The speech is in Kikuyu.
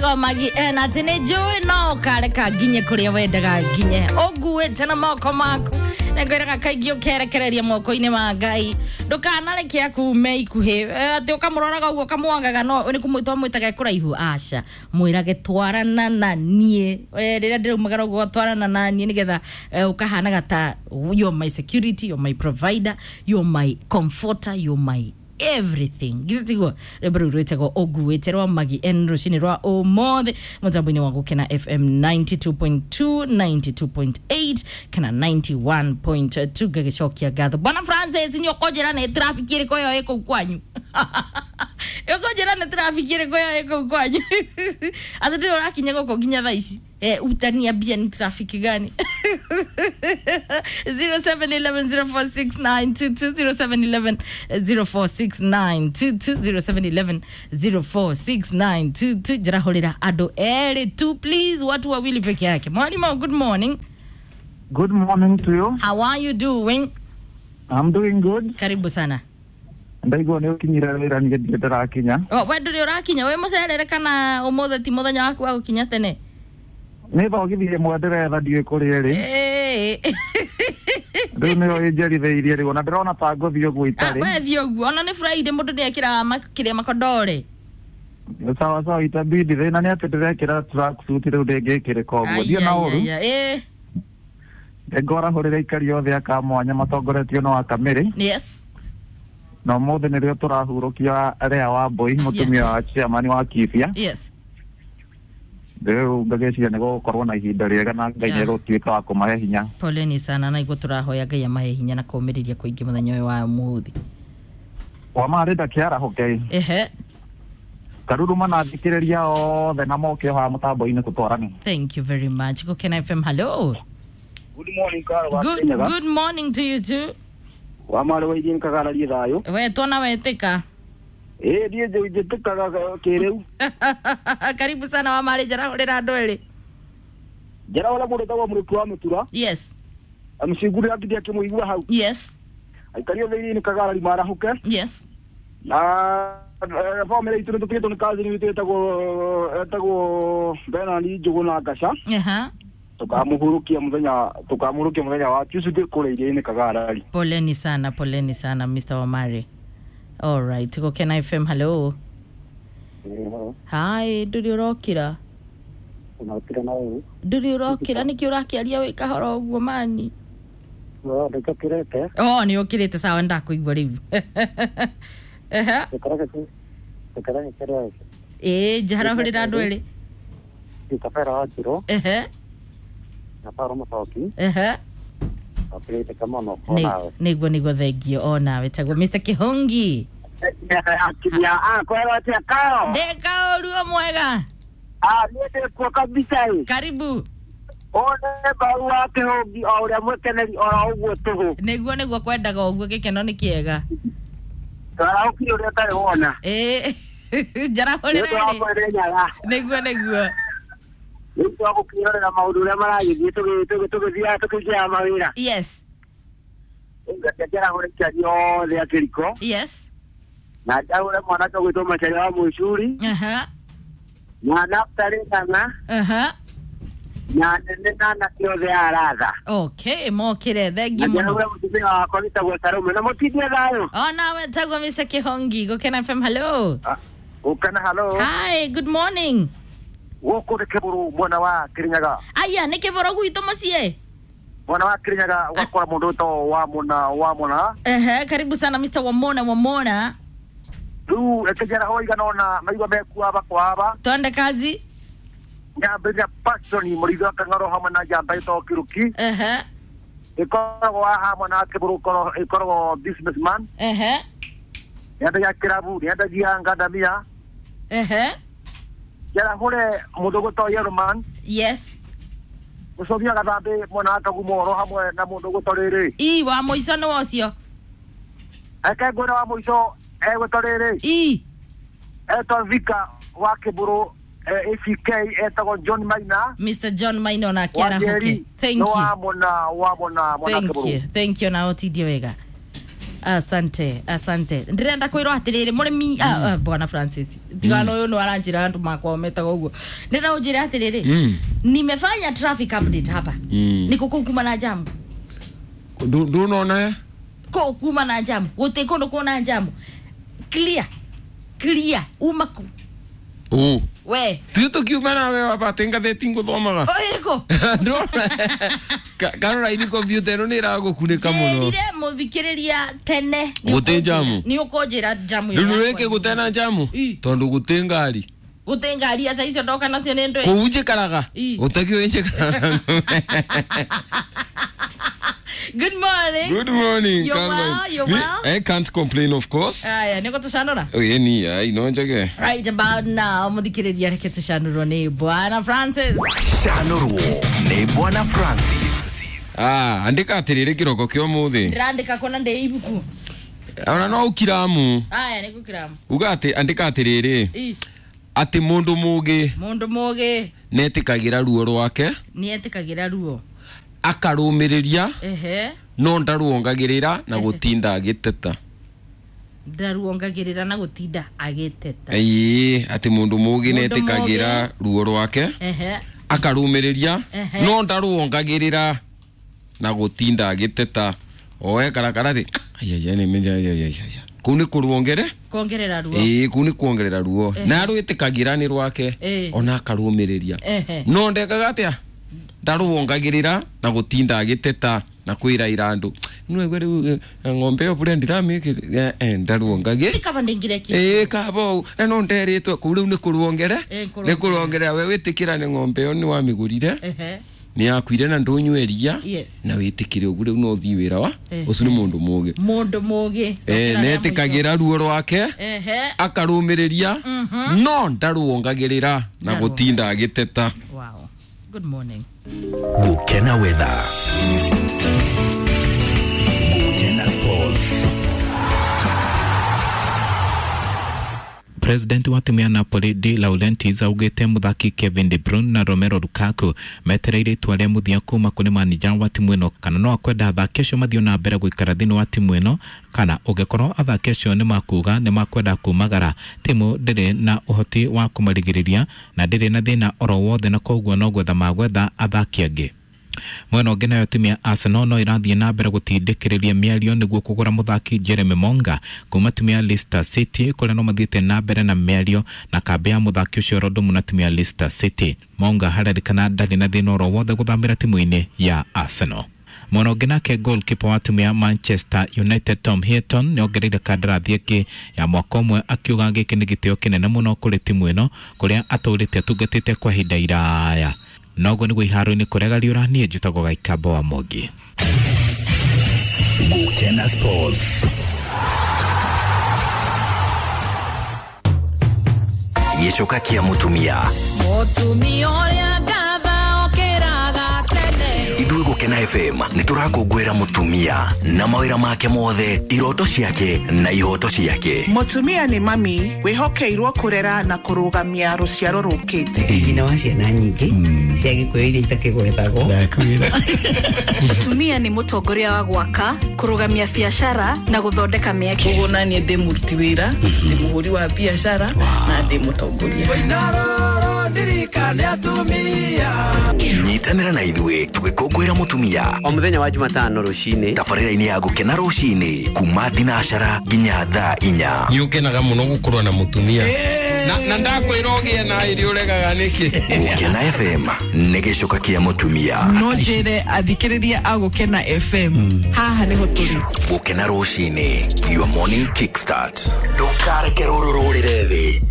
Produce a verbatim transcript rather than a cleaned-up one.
Wetagwo Magi na atĩ nĩ njũĩ no ũkareka nginye kũrĩa wendaga nginye ũnguĩte na moko maku. Nĩngwĩraga kaingĩ ũkerekereria moko-inĩ ma Ngai, ndũkanareke akume ikuhĩ atĩ ũkamũroraga ũguo ũkamwangaga no nĩ kũmwĩta ũmwĩtaga kũraihu. Aca, mwĩrage twarana na niĩ rĩrĩa ndĩraumagara ũguo, twarana na niĩ nĩgetha ũkahanaga ta you're my security, you're my provider, you're my comforter, you're my everything. Githĩ tiguo rwĩmbo rũu rwĩtagwo ũnguĩte rwa Magi N rũcinĩ rwa ũmũthĩ mũtambo-inĩ wa Gũkena F M ninety-two point two, ninety-two point eight kana ninety-one point two. Ngagĩcokia ngatho Bwana Francis, nĩ ũkũnjĩra nĩ traffic ĩrĩkũ ĩyo ĩ kũu kwanyu? Ũkũnjĩra nĩ traffic ĩrĩkũ ĩyo ĩ kũu kwanyu? Atĩ ndĩrĩ ũrakinya gũkũ nginya thaa ici. Eh, utaniambia ni traffic gani? zero seven eleven zero four six nine two two, zero seven eleven zero four six nine two two, zero seven eleven zero four six nine two two. Njirahũrĩra andũ erĩ tu please, watu wawili peke yake. Mwalimu, good morning. Good morning to you. How are you doing? I'm doing good. Karibu sana. Ndaigua nĩ ũkinyire wĩra niĩ ndirĩ ndĩrakinya. Oh, we ndũrĩ ũrakinya, wĩ mũcerere kana ũmũthĩ ti mũthenya waku wa gũkinya tene? Nĩ thogithi ĩmwe ndĩretha ndiũĩ kũrĩa ĩrĩ. Rĩu nĩyo ĩnjerithĩirie rĩu ona ndĩrona ta ngũthiĩ ũguo itarĩ. We thiĩ ũguo, ona nĩ Friday mũndũ nĩekĩraga kĩrĩa makodore. Sawa sawa, itabidi. Thĩna nĩ atĩ ndĩrekĩra tracksuit rĩu ndĩngĩkĩrĩka ũguo. Thiĩ na ũru. Ngorahũrĩra aikari othe a Kamwanya matongoretio no Akamĩrĩ. Yes. Na ũmũthĩ nĩrĩo tũrahurũkia Rea wa Mbui, mũtumia wa chairman wa Kibia. Yes. Rĩu ngagĩciria nĩ gũgũkorwo na ihinda rĩega na Ngai nĩ egũtuĩka wa kũmahe hinya. Poleni sana, na iguo tũrahoya Ngai amahe hinya na kũũmĩrĩria kũingĩ mũthenya ũyũ wa ũmũthĩ. Wa marĩ ndakĩarahũke. Ehe. Karuruma na thikĩrĩria othe na moke haha mũtambo-inĩ tũtwarane. Thank you very much. Gũkena F M, hello. Good morning, Carol. Good, good morning to you too. Wa marĩ wa ithiĩ nkagararie thayũ. We twana wetĩka. Ĩĩ niĩ njĩtĩkaga kĩrĩu. Karibu sana wa marĩ, njarahũrĩra andũ erĩ. Njarahũra mũndũ wĩtagwo Mũrĩku wa Mũtura. Yes. Amcingurĩra ngithĩ akĩmũigua hau. Yes. Aikari othe iria-inĩ Kagarari marahũke. Yes. Na bamĩrĩ itũ nĩtũtigĩtwo nĩ cousin witũ ĩtagwo ĩtagwo Bernard Njũgũ na Ngaca. Aha. Tukamũhurũkia mũthenya tukamũhurũkia mũthenya wa Tuesday kũrĩa iria-inĩ Kagarari. Poleni sana, poleni sana Mister Wamari. All right, Gũkena F M, hello. Hi, ndũrĩ ũrokĩra? Ũrokĩra na ũũ. Ndũrĩ ũrokĩra, nĩkĩ ũrakĩaria wĩ kahora ũguo mani? No, nĩnjũkĩrĩte. Oh, nĩ ũkĩrĩte, sawa, ndakũigua rĩu. Ehe. Ĩĩ, njarahũrĩra andũ erĩ. Kabera wa Njirũ. Ehe. Na Paul Mũcoki. Ehe. Nĩguo nĩguo, thengio o nawe. Tagwo Mister Kihongi. Ndĩ kaũru mwega. Ah, niĩ ndĩkuo kabisa ĩ. Karibu. One mbaru wa Kihongi o ũrĩa mwĩkeneri oro ũguo tũhũ. Nĩguo nĩguo kwendaga ũguo, gĩkeno nĩ kĩega. Twarahũkire ũrĩa ũtarĩ wona. Ĩĩ. Njarahũrĩra rĩ. Nĩguo nĩguo. Rĩu twagũkĩrorera maũndũ ũrĩa maragĩthiĩ tũgĩthiaga tũkĩingĩraga mawĩra. Yes. Reke njarahũre aikari othe a Kĩriko. Yes. Na njarahũre mwanake ũgwĩtwo Macharia wa Mũcuri. Aha. Na Naftali Ng'ang'a. Aha. Na nene na anake othe a Aratha. Okay, mokĩre, thengiũ mũno. Na njarahũre mũtumia wakwa wĩtagwo Salome na mũtindie thayũ. O nawe tagwo Mister Kihongi. Gũkena F M, hello. Gũkena, hello. Hi, good morning. Gũkũ nĩ Kĩbũrũ mwena wa Kĩrĩnyaga. Aya, nĩ Kĩbũrũ gwitũ mũciĩ? Mwena wa Kĩrĩnyaga ũgakora mũndũ wĩtagwo Wamũna Wamũna. Ehe, karibu sana Mister Wamona Wamona. Rĩu reke njaraho igana ũna maigua mekuaba kwaba. Twende kazi. Nyambĩrĩria Passion mũrĩithi wa Kang'aro hamwe na njamba ĩtagwo Kĩrũki. Ehe. Ĩkoragwo haha mwena wa Kĩbũrũ ĩkoragwo businessman. Ehe. Nĩendagia kĩrabu, nĩendagia ngandamia. Ehe. Njarahũre mũndũ ũgwĩtwo Yellowman. Yes. Mũcomi wa Gathambĩ mwena wa Kagumo oro hamwe na mũndũ ũgwĩtwo rĩrĩ. Ii, wa mũico nĩ ũcio. Reke ngwĩre wa mũico egwĩtwo rĩrĩ. Ii. Etwo Vika wa Kĩbũrũ A C K etagwo John Maina. Mister John Maina ona akĩarahũke. Thank you. Wa Mona wa Mona mwana Thank you. Thank you na ũtindie wega. Asante, asante. Ndĩrenda kwĩrwo atĩrĩrĩ mũrĩmi, ah, ah, bwana Francis, tigana ũyũ nĩ aranjĩra andũ makwa metaga ũguo. Ndĩrenda ũnjĩre atĩrĩrĩ, Mm. nimefanya traffic update hapa. Mm. Niko kũu kuma na jamu. Ndunona. Kũu kuma na jamu. Gũtirĩ kũndũ kuna jamu. Clear. Clear. Uma ku. Ũ. We. Ti tũkiuma nawe wabate ngathĩti ngũthomaga. Ĩrĩkũ? Karora ini kompiuta ĩno nĩ ĩragũkunĩka mũno. Njĩrire mũthikĩrĩria tene. Gũtĩ jamu. Nĩ ũkũnjĩra jamu Rĩu ĩyo nĩkĩ yakwa. gũtena njamu? Ĩ. Tondũ gũtĩ ngari. Gũtĩ ngari ata icio ndoka nacio nĩ ndũĩ. Kũu njikaraga. Ĩ. Gũtakĩũĩ njikaraga. Good morning. Good morning, You're Caroline. well, you're Me- well? I can't complain, of course. Aya, nĩ gũtũcanũra. Oye ni ai no njage. Right about now, mũthikĩrĩria reke tũcanũrwo nĩ Bwana Francis. Canũrwo nĩ Bwana Francis. Ah, andĩka atĩrĩrĩ kĩroko kĩa ũmũthĩ. Ndĩrandĩka kuona ndĩ ibuku. Ona no ũkiramu. Aya, nĩ gũkiramu. Uga atĩ andĩka atĩrĩrĩ Ĩ, atĩ mũndũ mũgĩ mũndũ mũgĩ netĩkagĩra ruo rwake nĩetĩkagĩra ruo. akarũmĩrĩria Ehe. no ndaruongagĩrĩra na gũtinda agĩteta. Ndaruongagĩrĩra na gũtinda agĩteta. Ĩĩ, atĩ mũndũ mũgĩ Mũndũ netĩkagĩra ruo rwake Ehe. akarũmĩrĩria Ehe. no ndaruongagĩrĩra na gũtinda agĩteta oe karakara thĩ ayaya nĩ menja ayaya kũu nĩ kũruongere Kuongerera ruo. ĩĩ kũu nĩ kuongerera ruo na arwĩtĩkagĩra nĩ rwake Ĩĩ. ona akarũmĩrĩria Ehe. no ndekaga atĩa ndaruongagĩrĩra na gũtinda agĩteta na kwĩra andũ nĩwaigua rĩu eh, ng'ombe ĩyo bũrĩa ndiramĩkĩte eh, ndaruongagĩ Kaba ndingire ki. ĩĩ kaba ũũ na no nderĩtwe kũu rĩu nĩ kũruongere Ĩĩ, nĩ kũruongerera we wĩtĩkĩra nĩ ng'ombe ĩyo nĩ wamĩgũrire Ehe. nĩ yakuire na ndũnyue iria Yes. na wĩtĩkĩre ũguo rĩu no ũthiĩ wĩra wa Ehe. ũcio nĩ mũndũ mũgĩ Mũndũ mũgĩ. Eh, Cokera rĩa mũico. netĩkagĩra ruo rwake Ehe. akarũmĩrĩria no ndaruongagĩrĩra na Ndaruongagĩrĩra. gũtinda agĩteta. Wow. Good morning. Gũkena weather. Gũkena sports. President wa timu ya Napoli De Laurentiis augĩte mũthaki Kevin De Bruyne na Romelu Lukaku metereire itua rĩa mũthia kuma kũrĩ manija wa timu ĩno kana no akwenda athaki acio mathiĩ na mbere gũikara thĩinĩ wa timu ĩno kana ũngĩkorwo athaki acio nĩ makuga nĩ makwenda kumagara timu ndĩrĩ na ũhoti wa kũmarigĩrĩria na ndĩrĩ na thĩna oro wothe na koguo no gwetha magwetha athaki angĩ. Mwena ũngĩ nayo timu ya Arsenal no ĩrathiĩ na mbere gũtindĩkĩrĩria mĩario nĩguo kũgũra mũthaki Jeremy Monga kuma timu ya Leicester City kũrĩa no mathiĩte na mbere na mĩario na kambĩ ya mũthaki ũcio oro na timu ya Leicester City. Monga harerĩkana ndarĩ na thĩna oro wothe gũthamĩra timu-inĩ ya Arsenal. Mwena ũngĩ nake goalkeeper wa timu ya Manchester United Tom Heaton nĩongereire kandarathi ĩngĩ ya mwaka ũmwe akiuga gĩkĩ nĩ gĩtĩo kĩnene mũno kũrĩ timu ĩno kũrĩa atũrĩte atungatĩte kwa ihinda iraya. Noguo nĩguo iharo-inĩ kũrĩa gariũra niĩ njĩtagwo Gaikambo wa Mwangi. Gũkena sports. Gĩcoka kĩa mũtumia. Mũtumia ũrĩa ngatha okĩraga tene. Ithuĩ Gũkena F M nĩ tũrakũngũĩra mũtumia na mawĩra make mothe, iroto ciake na ihoto ciake. Mũtumia nĩ mami wĩhokeirwo kũrera na kũrũgamia rũciaro rũkĩte. Nyina wa ciana nyingĩ cia Gĩkũyũ iria itakĩgwetagwo. Mũtumia nĩ mũtongoria wa gwaka, kũrũgamia biacara na gũthondeka mĩeke. Koguo naniĩ ndĩ mũruti wĩra, ndĩ mũhũri wa biacara na ndĩ mũtongoria. Nyitanĩra na ithuĩ tũgĩkũngũĩra mũtumia O mũthenya wa Jumatano rũcinĩ tabarĩra-inĩ ya Gũkena rũcinĩ kuma thinacara nginya thaa inya. Nĩ ũkenaga mũno gũkorwo na mũtumia na na ndakwĩra ũgĩe na ĩrĩ ũregaga nĩkĩ. Gũkena F M nĩ gĩcoka kĩa mũtumia. No njĩre athikĩrĩria a Gũkena F M haha nĩho tũrĩ. Gũkena rũcinĩ, your morning kickstart. Ndũkareke rũrũ rũrĩre thĩ.